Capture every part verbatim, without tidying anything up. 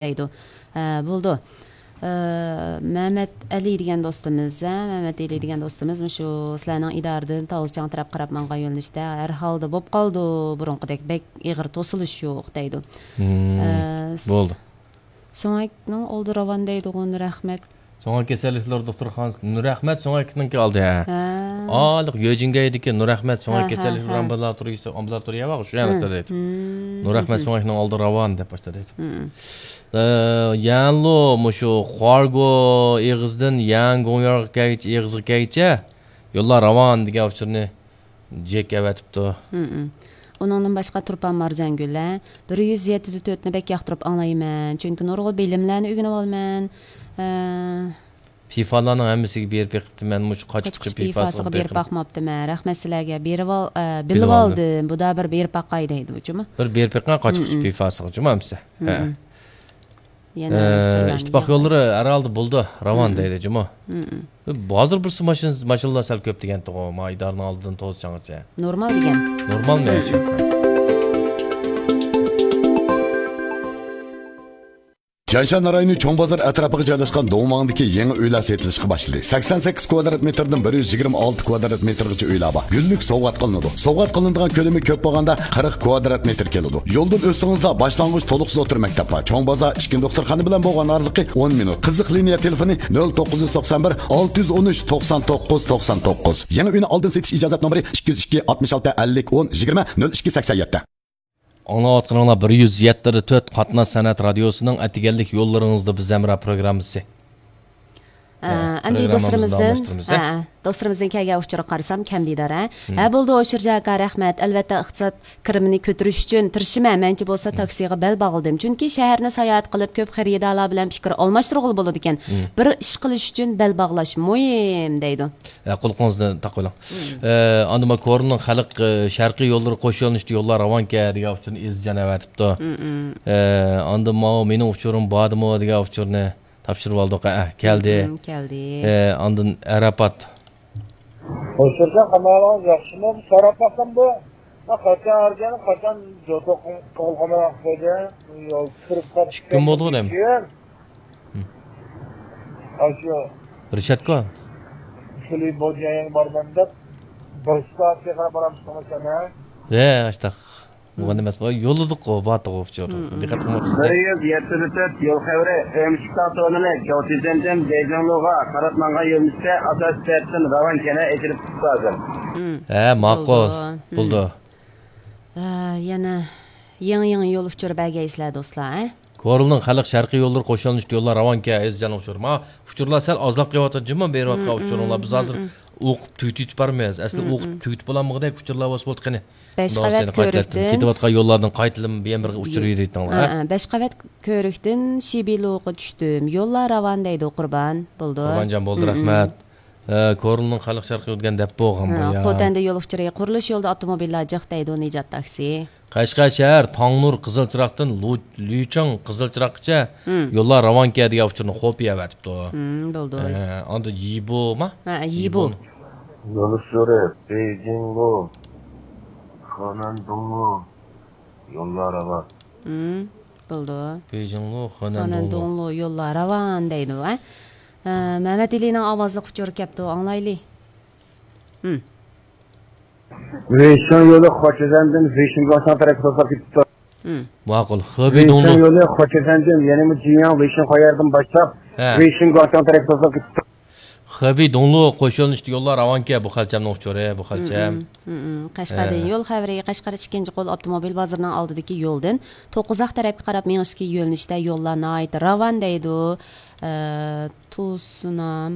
دەيدۇ. ھە، بولىدۇ. ئە، مەمەت ئەلى دېگەن دوستىمىز، ھە، مەمەت ئەلى دېگەن دوستىمىز مۇشۇ سىلەرنىڭ ئىدارىدىن تاۋۇزچاڭ تەرەپ قاراپ ماڭغان يۆنىلىشتە ھەر ھالدا بولۇپ قالىدۇ، بۇرۇنقىدەك بەك ئېغىر توسۇلۇش يوق دەيدۇ. مم، ئە، س-، بولدى. سۆڭەكنىڭ ئالدى راۋان دەيدىغۇ، نۇرئەخمەت. سۆڭەك كېسەللىكلىرى دوختۇرخانىسى، نۇرئەخمەت سۆڭەكنىڭكى ئالدى، ھە. ھە. ئالىق يۆجىنگەيدىكى نۇرئەخمەت سۆڭەك ھە، ھە، كېسەللىكلىرى ھە. ئامبۇلاتورىيىسى، ئامبۇلاتورىيە بار، شۇ يەردە دەيدۇ. مم. نۇرئەخمەت مم. سۆڭەكنىڭ ئالدى راۋان دەپ باشتا دەيدۇ. مم. ئە، يەنلۇ مۇشۇ خۇارگو ئېغىزىدىن يەڭ گوڭيارغا كەلگىچە، ئېغىزغا كەلگىچە يوللار راۋان دېگەن ئۇچۇرنى جېك ئەۋەتىپتۇ. مم. ئۇنىڭدىن باشقا تۇرپان مارجانگۈل، ھە، بىر يۈز يەتتە تۆتنى بەك ياقتۇرۇپ ئاڭلايمەن، چۈنكى نۇرغۇن بىلىملەرنى ئۆگىنىۋالىمەن. ئە، پىفالارنىڭ ھەممىسىگە بېرىپ بېقىپتىمەن، مۇشۇ قاچقۇچ قاچقۇچ پىفاسىغا پىفاسىغا بېرىپ بېقىپ باقماپتىمەن. رەھمەت سىلەرگە. بېرىۋال-، ئە، بىلىۋالدىم. بىلىۋالدىم. بۇدا بىر بېرىپ باقاي دەيدۇ، جۇمۇ. بىر بېرىپ بېقىڭ، قاچقۇچ مم. پىفاسىغا، جۇمۇ ھەممىسى. ھە. مم. يەنە ئە، ئىتتىپاق يوللىرى ھەر ھالدا بولىدۇ، راۋان مم. دەيدۇ، جۇمۇ. مم. ھازىر بىرسى ماشىنا، ماشىنىلار سەل كۆپ دېگەنتىغۇ، ما ئىدارىنىڭ ئالدىدىن توزچاڭغىچە. نورمال دېگەن. نورمالمۇ يا شۇ؟ تيەنشان رايونى چوڭ بازار ئەتراپىغا جايلاشقان دوڭماڭدىكى يېڭى ئۆيلەر سېتىلىشقا باشلىدى. سەكسەن سەككىز كۋادرات مېتىردىن بىر يۈز يىگىرمە ئالتە كۋادرات مېتىرغىچە ئۆيلەر بار. گۈللۈك سوۋغات قىلىنىدۇ. سوۋغات قىلىنىدىغان كۆلىمى كۆپ بولغاندا قىرىق كۋادرات مېتىر كېلىدۇ. يولدىن ئۆتسىڭىزلا باشلانغۇچ تولۇقسىز ئوتتۇرا مەكتەپ بار. چوڭ بازار ئىككى دوختۇرخانا بىلەن بولغان ئارىلىقى ئون مىنۇت. قىزىق لىنىيە تېلېفونى نۆل توققۇز يۈز توقسان بىر، ئالتە يۈز ئون ئۈچ، توقسان توققۇز، توقسان توققۇز. يېڭى ئۆينى ئالدىن سېتىش ئىجازەت نومۇرى ئىككى يۈز ئىككى، ئاتمىش ئالتە، ئەللىك، ئون، يىگىرمە، نۆل ئىككى سەكسەن يەتتە. ئاڭلاۋاتقىنىڭلار بىر يۈز يەتتە تۆت قاتناش سەنئەت رادىيوسىنىڭ ئەتىگەنلىك يوللىرىڭىزدا بىز ھەمراھ پروگراممىسى. ئە، ھە، ئەمدى پروگراممىمىزنى دوستلىرىمىزدىن، داۋاملاشتۇرىمىز، ھە، ھە. دوستلىرىمىزدىن كەلگەن ئۇچۇرغا قارىسام، كەم دېدار، ھە؟ ھە، بولدى، ھوشۇرجان ئاكا، رەھمەت. ئەلۋەتتە، ئىقتىساد كىرىمىنى كۆتۈرۈش ئۈچۈن تىرىشىمەن. مەنچە بولسا تاكسىغا بەل باغلىدىم. چۈنكى شەھەرنى ساياھەت قىلىپ، كۆپ خېرىدارلار بىلەن پىكىر ئالماشتۇرغىلى بولىدىكەن. بىر ئىش قىلىش ئۈچۈن بەل باغلاش مۇھىم، دەيدۇ. ھە، قۇلىقىڭىزنى تاقىۋېلىڭ. ئە، ئاندىن ما كورلىنىڭ خەلق، ئە، شەرقىي يوللىرى قوش يۆنىلىشتە يوللار راۋانكەن دېگەن ئۇچۇرنى ئېزىزجان ئەۋەتىپتۇ. ئە، ئاندىن ماۋۇ مېنىڭ ئۇچۇرۇم باردىمۇ دېگەن ئۇچۇرنى تاپشۇرۇۋالدۇق. ئە، كەلدى. مم، كەلدى. ئە، ئاندىن ئەرەپات. ھوشۇرجان، قانداق ئەھۋالىڭىز، ياخشىمۇ؟ سوراپ باقسام بۇ، قاچان ئارگەن، قاچان جوتۇق قالغان ۋاقىت ئىدى. يول كىرىپ قاپتۇ. ئىككى كۈن بولدىغۇ دەيمەن. كېيىن، ھم. ئاشۇ رىشاتكو. كلىپ بولدى، يەنە بارىمەن دەپ، بىر سائەتكە قاراپ بارامسىز، قاچان، ھە؟ ھە، ئاشتاق. بولغان ئەمەس، يوللىدۇققۇ، باتىغۇ ئۇچۇر. دىققەت قىلماپسىز. بىر يۈز يەتتە تۆت يول خەۋىرى، ئۆمۈچۈك تاغ تورنىلى، جاۋتىزەندىن بېيجىڭلۇغا قاراپ ماڭغان يۆنىلىشتە ئاساسىي تەرەپتىن راۋان كەنە ئېچىلىپ چىقىپتۇ ھازىر. ھە، ماقۇل. بولىدۇ. ھە، يەنە يېڭى، يېڭى يول ئۇچۇرى بەرگەيسىلەر، دوستلار، ھە؟ كورلىنىڭ خەلق شەرقىي يوللىرى قوشۇلۇشتى، يوللار راۋانكەن، ئەزىزجان ئۇچۇر. ما ئۇچۇرلار سەل ئازلاپ قېلىۋاتىدۇ، جۇمۇ بېرىۋاتقان ئۇچۇرۇڭلار. بىز ھازىر ئوقۇپ تۈگىتىپ بارىمىز. ئەسلى ئوقۇپ تۈگىتىپ بولالمىغۇدەك ئۇچۇرلار بولسا بولدى قېنى. بەش قەۋەت كۆۋرۈكتىن. كېتىۋاتقان يوللاردىن قايتىلىم بىر يەنە بىر ئۇچۇر بېرىۋېتىڭلار، ھە؟ ھە، ھە، بەش قەۋەت كۆۋرۈكتىن شىبىلۇغا چۈشتۈم. يوللار راۋان دەيدۇ، قۇربان. بولىدۇ. قۇربانجان، بولدى، رەھمەت. ئە، كورلىنىڭ خەلق شەرقىي ئۆتكەن دەپ بولغان بۇ يا. خوتەندە يول ئۇچۇرى، قۇرۇلۇش يولىدا ئاپتوموبىللار جىق دەيدۇ، نىجات تاكسى. قەشقەر شەھەر، تاڭنۇر، قىزىل چىراغدىن لۇ-، لۈچاڭ، قىزىل چىراغقىچە يوللار راۋانكەن دېگەن ئۇچۇرنى خوپىيە ئەۋەتىپتۇ. ھم، بولدى. ئە، ئاندىن يىبۇما؟ ھە، يىبۇ. يول ئۇچۇرى، بېيجىڭلۇ، خېنەندۇڭلۇ، يوللار راۋان. ھم، بولدى. بېيجىڭلۇ، خېنەندۇڭلۇ. خېنەندۇڭلۇ يوللار راۋان دەيدۇ، ھە؟ ئە، مەمەت ئېلىنىڭ ئاۋازلىق ئۇچۇرى كەپتۇ، ئاڭلايلى. ھم. ۋېيشىڭ يولى خۇچىزەندىن ۋېيشىڭ گۇاڭشاڭ تەرەپكە توسۇلۇپ كېتىپتۇ. ھم. ماقۇل. خېبېي ۋېيشىڭ دۇڭلۇ. يولى خۇچىزەندىن، يەنىمۇ جىياڭ ۋېيشىڭ خۇيەردىن باشلاپ، ھە. ۋېيشىڭ گۇاڭشاڭ تەرەپكە توسۇلۇپ كېتىپتۇ. خېبېي دۇڭلۇ قوش يۆنىلىشتە يوللار راۋانكەن، بۇ خەلچەمنىڭ ئۇچۇرى، بۇ خەلچەم. ھم، ھم، ھم. قەشقەردىن ھە. يول خەۋىرى، قەشقەر ئىككىنچى قول ئاپتوموبىل بازىرىنىڭ ئالدىدىكى يولدىن توققۇزاق تەرەپكە قاراپ مېڭىشتىكى يۆنىلىشتە يوللار ناھايىتى راۋان دەيدۇ. ئە، تۇسۇنام.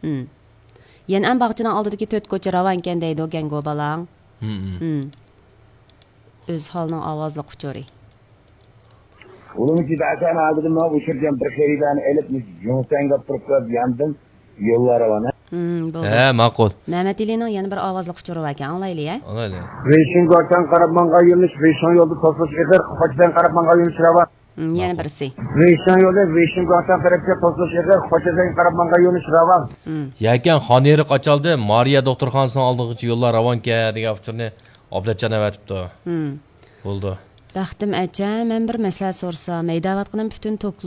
ھم. يەنئەن باغچىنىڭ ئالدىدىكى تۆت كوچا راۋانكەن دەيدۇ، گەنگو بالاڭ. ھم، ھم. ھم. ئۆزھالنىڭ ئاۋازلىق ئۇچۇرى. ئۇلۇمچى بەسەن ئالدىدىن ماڭا ئۇچۇرجان بىر خېرىدارنى ئېلىپ، مۇشۇ جۇڭسەنگە تۇرۇپ قويۇپ ياندىم، يوللار راۋان، ھە؟ ھم، بولدى. ھە، ماقۇل. مەمەت ئېلىنىڭ يەنە بىر ئاۋازلىق ئۇچۇرى باركەن، ئاڭلايلى، ھە؟ ئاڭلايلى. ۋېيشىڭ گۇاڭشاڭ قاراپ ماڭغان يۆنىلىش، ۋېيشىڭ يولدا توسۇلۇش ئېغىر، خوچىدەن قاراپ ماڭغان يۆنىلىش راۋان. ھم، يەنە بىرسى. ۋېيشىڭ يولى، ۋېيشىڭ گۇاڭشاڭ تەرەپكە توسۇلۇش ئېغىر، خوچىدەن قاراپ ماڭغان يۆنىلىش راۋان. ھم. يەكەن خانئېرىق ئاچالدى، مارىيە دوختۇرخانىسىنىڭ ئالدىغىچە يوللار راۋانكەن دېگەن ئۇچۇرنى ئابلەتجان ئەۋەتىپتۇ. ھم. بولدى. بەختىم ئەچە، مەن بىر مەسلىھەت سورىسام، ھەيدەۋاتقىنىم پۈتۈن توكلۇق.